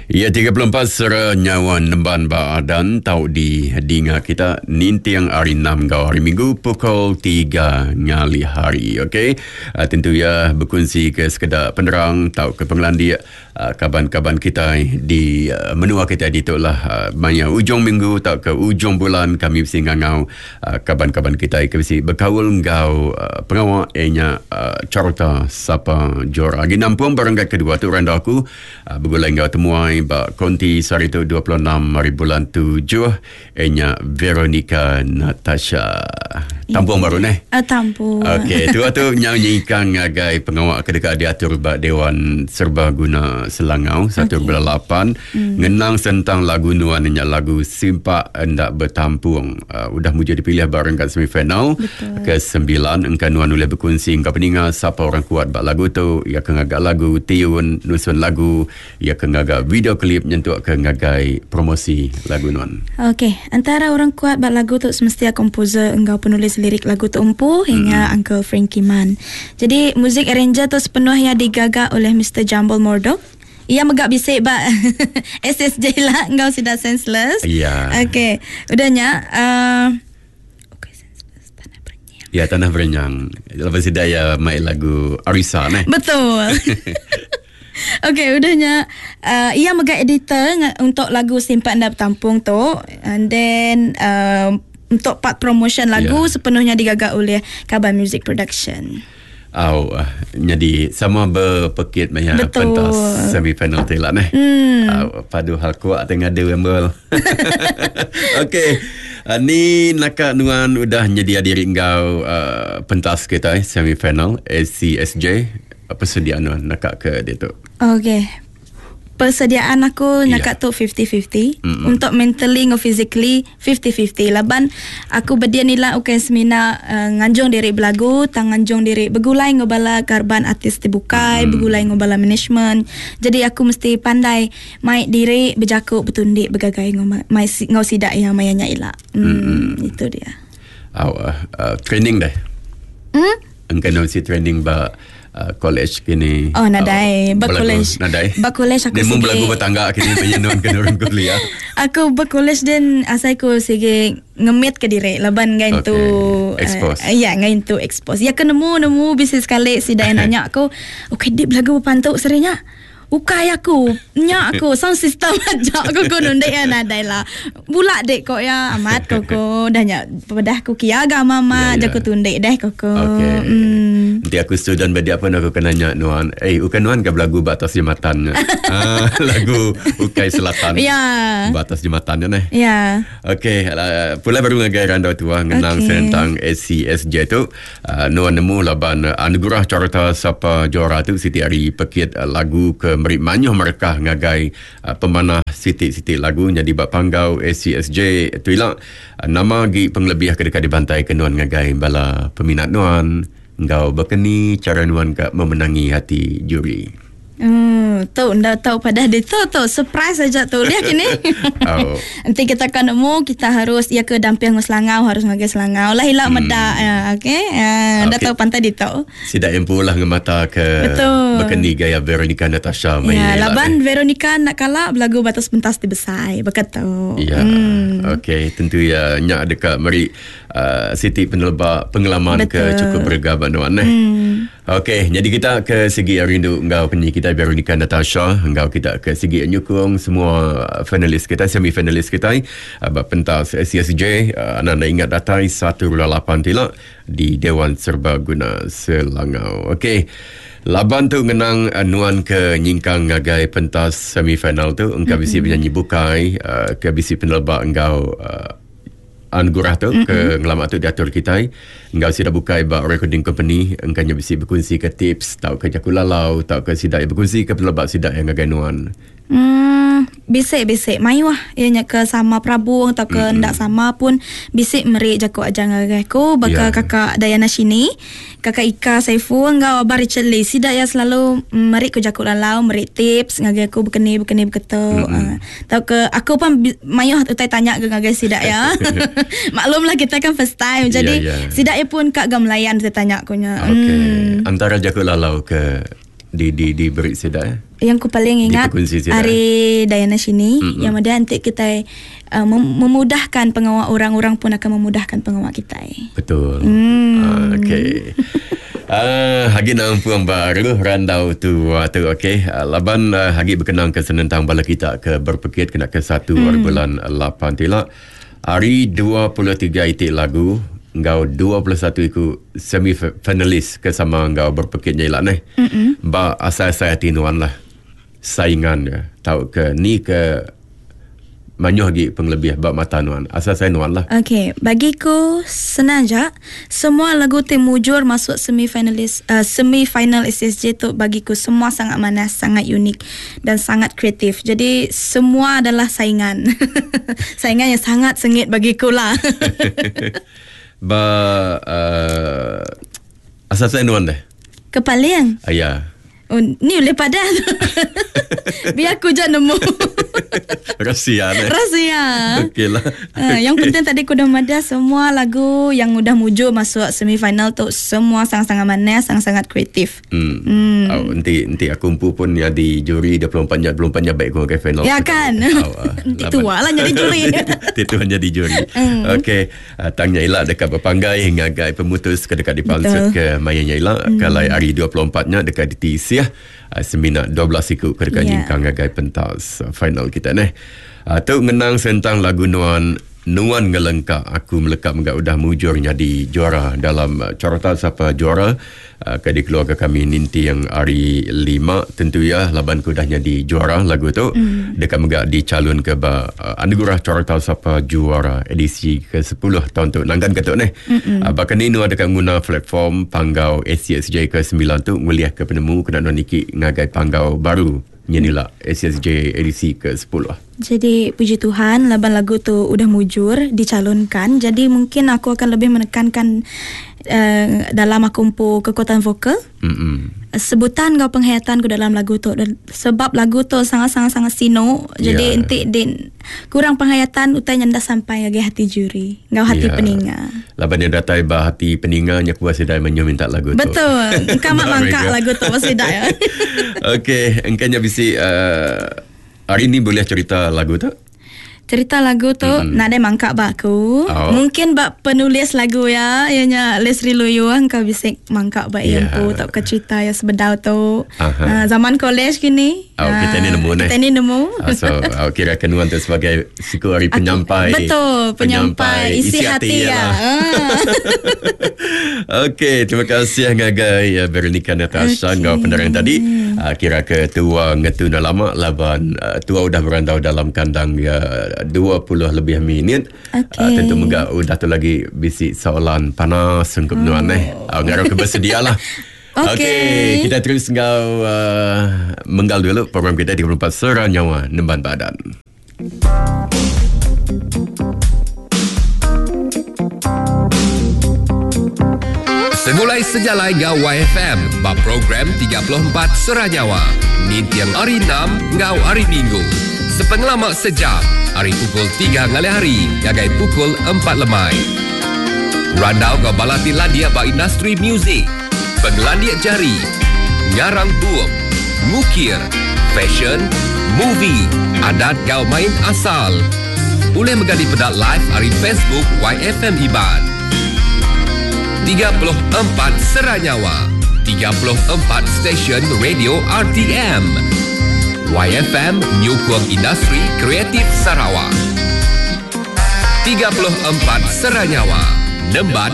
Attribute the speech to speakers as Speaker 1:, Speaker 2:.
Speaker 1: Iya 34 sera nyawa nemban ba adan tau di dinga kita ninting hari 6 enggau hari Minggu pukul 3 ngalih hari. Okey. Uh, tentu ya bekunsi ke sekeda penerang tau ke pengelandik uh, kaban-kaban kita di uh, menua kita ditu lah uh, maya ujung minggu tau ke ujung bulan kami mesti ngangau uh, kaban-kaban kita ke bisi bekaul enggau uh, pengawa ianya uh, carta sapa jora. Agi nampung baranggai kedua tu randau aku Ah, begulai enggau temuai ba konti sehari tu 26 hari bulan 7 ianya Veronica Natasha. Tampung baru neh.
Speaker 2: Ah, tampung.
Speaker 1: Okey, tu tu nyau nyingkang ngagai pengawa ke deka diatur ba Dewan Serbaguna Selangau 1.8 okay. Ngenang sentang lagu nuan nya lagu Simpak Enda Betampung. Uh, udah mujur dipilih ba renggat semifinal ke sembilan engka nuan ulih bekunsi enggau peninga sapa orang kuat ba lagu tu, iya ke ngaga lagu, tiun, nusun lagu, iya ke ngaga video klip nyentuk ke ngagai promosi lagu nuan.
Speaker 2: Okey, entara orang kuat ba lagu tu semestia komposer enggau penulis lirik lagu tu empu iya nya mm-hmm. Uncle Frankie Man. Jadi music arranger tu sepenuhnya digaga oleh Mr Jambul Mordok. Iya mega bisi ba SSJ lah enggau sida senseless.
Speaker 1: Ya.
Speaker 2: Okey, udah nya uh,
Speaker 1: okay, senseless tanah berenyang. Ya, tanah berenyang. Lepas sida ya mai lagu Arisa neh.
Speaker 2: Betul. Okey, udah nya uh, iya mega editor untuk lagu Simpan Enda Betampung tu and then uh, untuk part promotion lagu yeah. sepenuhnya digaga oleh Kaban Music Production.
Speaker 1: Au, nyadi sama bepekit maya pentas semi final ti lah neh. Hmm. Au, padu hal kuat ti ngadu embel. Okey. Uh, ni naka nuan udah nyedia diri enggau uh, pentas kita eh, semi final ACSJ. Apa sediaan nuan naka ke ditu?
Speaker 2: Okey. Persediaan aku yeah. naka tu 50-50 mm-hmm. untuk mentally ngau physically 50-50 laban aku bedia nila ukai semina uh, nganjung diri belagu tang nganjung diri begulai ngau bala karban artis ti bukai mm. begulai ngau bala management jadi aku mesti pandai mai diri bejaku betundi begagai ngau mai ngau sida yang maya nya ila mm, mm-hmm. itu dia
Speaker 1: uh, uh, training deh mm? Engka si training ba uh, college kini.
Speaker 2: Oh nadai, uh, ba college.
Speaker 1: Nadai.
Speaker 2: Ba college aku
Speaker 1: sigi. Nemu belagu betangga kini penyenun ke orang kuliah.
Speaker 2: Aku ba college den asai ku sigi ngemit ke diri laban ngai okay. tu
Speaker 1: expose.
Speaker 2: Uh, ya ngai tu expose. Ya ke nemu nemu bisi sekali sida yang nanya aku, "Okey dik belagu pantu serinya?" Ukai aku. Nya aku sound system aja aku ko nundek ya nadai lah. Bula dek ko ya amat ko ko dah nya pedah ku kia ga mama ya, ya. jaku tundek deh ko ko.
Speaker 1: Okay. Hmm. Nanti aku student bagi apa aku kena nanya nuan. Eh ukan nuan ke belagu ba atas jembatan. ah, lagu Ukai Selatan.
Speaker 2: Ya.
Speaker 1: Ba atas jembatan nya neh.
Speaker 2: Ya.
Speaker 1: Okey, uh, pulai baru ngagai randau tua ngenang okay. sentang SCSJ tu. Uh, nuan nemu laban uh, anugerah carta sapa juara tu siti ari pekit uh, lagu ke meri mayuh merekah ngagai uh, pemanah siti-siti lagu nyadi ba panggau ACSJ tu ila uh, nama agi pengelebih ke deka dibantai ke nuan ngagai bala peminat nuan enggau bekeni cara nuan ka memenangi hati juri.
Speaker 2: Hmm, tu enda tau padah ditu tu surprise aja tu lihat kini. Oh. Nanti kita kan nemu kita harus ya ke damping ngau Selangau harus ngagai Selangau lah ila hmm. meda ya okey. Ya, enda okay. tau pantai ditu.
Speaker 1: Sida empu lah ngemata ke
Speaker 2: Betul.
Speaker 1: Bekeni gaya Veronica Natasha
Speaker 2: mai. Ya, laban Veronica nak kala belagu batas pentas ti besai beketu.
Speaker 1: Ya. Hmm. Okey, tentu ya nyak deka meri uh, siti peneleba pengalaman ke cukup berega ba nuan eh. Hmm. Okey, nyadi kita ke sigi rindu enggau penyanyi kita Veronica Natasha enggau kita ke sigi nyukung semua finalis kita, semi finalis kita eh, ba pentas SCSJ eh, anda enda ingat datai 1.8 tila di Dewan Serbaguna Selangau. Okey. Laban tu ngenang eh, nuan ke nyingkang ngagai pentas semi final tu engka bisi penyanyi bukai ke bisi peneleba enggau Anugerah tu mm-hmm. ke ngelama tu diatur kitai enggau sida bukai ba recording company engka nya bisi bekunsi ke tips tauka jaku lalau tauka sida iya bekunsi ke peneleba sida iya ngagai nuan.
Speaker 2: Hmm, bisi bisi mayuh iya nya ke sama perabung tauka mm-hmm. enda sama pun bisi meri jaku ajar ngagai aku baka yeah. kakak Dayana Shini. Kakak Ika Saiful enggau Abang Richard Lee sida iya selalu meri ku jaku lalau meri tips ngagai aku bekeni bekeni beketu mm-hmm. uh, tauka aku pun mayuh utai tanya ke ngagai sida iya maklumlah kita kan first time jadi yeah, yeah. sida iya pun ka ga melayan utai tanya ku nya
Speaker 1: okay. mm. Antara jaku lalau ke di di diberi sida eh?
Speaker 2: Yang ku paling ingat ari Diana Shini mm-hmm. yang ada nanti kita memudahkan pengawa orang, orang pun akan memudahkan pengawa kita.
Speaker 1: Betul. Okey. Hagi nampung baru randau tu tu okey. Laban hagi berkenang ke senentang bala kita ke berpekit kena ke 1 bulan 8 tila. Hari 23 itik lagu ngau 21 iku semi finalis ke sama ngau berpekit nya ila neh. Ba asai-asai hati nuan lah saingan ya tau ke ni ke manyuh lagi pengelebih ba mata nuan. Asai-asai nuan lah.
Speaker 2: Okey, bagiku senang je. Semua lagu ti mujur masuk semi finalis semi final SSJ tu bagiku semua sangat manas, sangat unik dan sangat kreatif. Jadi semua adalah saingan. Saingan yang sangat sengit bagiku lah.
Speaker 1: Ba asal-asal nuan deh.
Speaker 2: Kepaling.
Speaker 1: Ya.
Speaker 2: Oh, ni boleh padah. Biar aku je nemu.
Speaker 1: Rahsia ni.
Speaker 2: Rahsia.
Speaker 1: Okey lah.
Speaker 2: Yang penting tadi aku dah madah semua lagu yang udah mujur masuk semifinal tu semua sangat-sangat manis, sangat-sangat kreatif.
Speaker 1: Oh, nanti aku empu pun jadi juri 24 nya baik aku ke final.
Speaker 2: Ya kan. Nanti tua lah jadi juri.
Speaker 1: Nanti tua jadi juri. Okey, tangnya ila dekat berpanggai hingga gai pemutus ke dekat dipansut ke mayanya ila kalau hari 24 nya dekat di TC semina 12 iku ke dekat nyingkang ngagai pentas final kita neh. Tu ngenang sentang lagu Nuan Nuan Ngelengkak Aku Melekap enggak udah mujur jadi juara dalam carta siapa juara ke di keluarga kami ninti yang hari 5 tentu ya laban ku dah jadi juara lagu tu dekat megak dicalon ke ba anugerah carta siapa juara edisi ke-10 tahun tu nanggan ke tu neh. Bahkan ni nu ada dekat guna platform panggau SCSJ ke-9 tu nguliah ke penemu kena nuan niki ngagai panggau baru nyenila SSJ edisi ke-10.
Speaker 2: Jadi puji Tuhan laban lagu tu udah mujur dicalonkan. Jadi mungkin aku akan lebih menekankan dalam aku empu kekuatan vokal. Sebutan kau penghayatan ku dalam lagu tu sebab lagu tu sangat-sangat sangat sino. Jadi enti din kurang penghayatan utai nyanda sampai lagi hati juri, ngau hati peninga.
Speaker 1: Laban dia datai bah hati peninga nya kuasa dai menyu minta lagu tu.
Speaker 2: Betul. Engkau mak mangkak lagu tu pasti dak ya.
Speaker 1: Okey, engkau bisi hari ni boleh cerita lagu tu?
Speaker 2: Cerita lagu tu nak ada mangkak bak aku. Mungkin bak penulis lagu ya, ianya Leslie Luyu engkau bisa mangkak bak yeah. Empu tak ke cerita ya sebedau tu. Zaman college kini.
Speaker 1: Kita ni nemu
Speaker 2: Kita ni nemu.
Speaker 1: So kira kenuan tu sebagai siku hari penyampai.
Speaker 2: Betul, penyampai isi hati ya.
Speaker 1: Okey, terima kasih ngagai Veronica Natasha ngau penerang tadi. Kira ke tua ngetu dah lama laban tua udah berandau dalam kandang 20 lebih minit. Okay. Tentu megak udah tu lagi bisi soalan panas sunggup nuan eh. Ngarap ke bersedialah.
Speaker 2: Okey,
Speaker 1: okay, kita terus ngau menggal dulu program kita 34 Sera Nyawa Nemban Badan.
Speaker 3: Segulai sejalai ngau YFM bab program 34 Sera Nyawa. Nintiang hari 6 ngau hari Minggu. Sepengelama sejam, hari pukul 3 ngalih hari, gagai pukul 4 lemai. Randau ngau balati landia ba industri muzik, pengelandia jari, ngarang bup, ngukir, fashion, movie, adat gau main asal. Boleh menggali pedak live hari Facebook YFM Iban. 34 Sera Nyawa, 34 stesen radio RTM. YFM Nyukung Industri Kreatif Sarawak. 34 Sera Nyawa, Nemban